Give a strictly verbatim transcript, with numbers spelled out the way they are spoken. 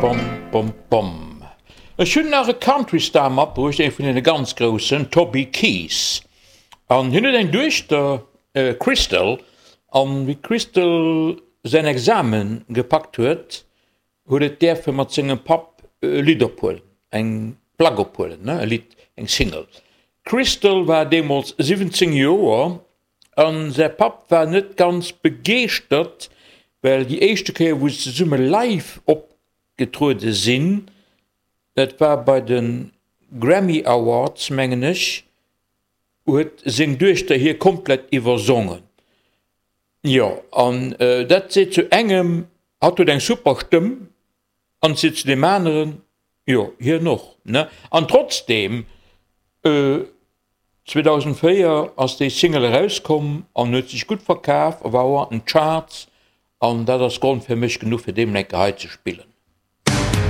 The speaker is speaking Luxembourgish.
Bom, bom, bom. Ech hunn nach e Country-Star matbruecht, ee vun deene ganz groussen, Toby Keith. An hien huet eng Duechter, Crystal, an wéi d'Crystal säin Examen gepackt huet, huet et däerfe mat sengem Papp e Lidd ophuelen, eng Plack ophuelen, ne, e Lidd, eng Single. D'Crystal war deemools siwwenzéng Joer an säi Papp war net ganz begeeschtert, well déi éischte Kéier wou se zesumme live opgetruede sinn, dat war bei de Grammy Awards, mengen ech, huet seng Duechter hie komplett iwwersongen. Jo, an dat seet zu engem, hatt huet eng super Stëmm, an seet zu deem aneren, jo, hien och, ne? An trotzdeem, zweedausendvéier ass déi Single erauskomm an huet sech gutt verkaf a war och an den Charts, an dat ass Grond fir mech genuch, fir deem eng Kéier hei ze spillen.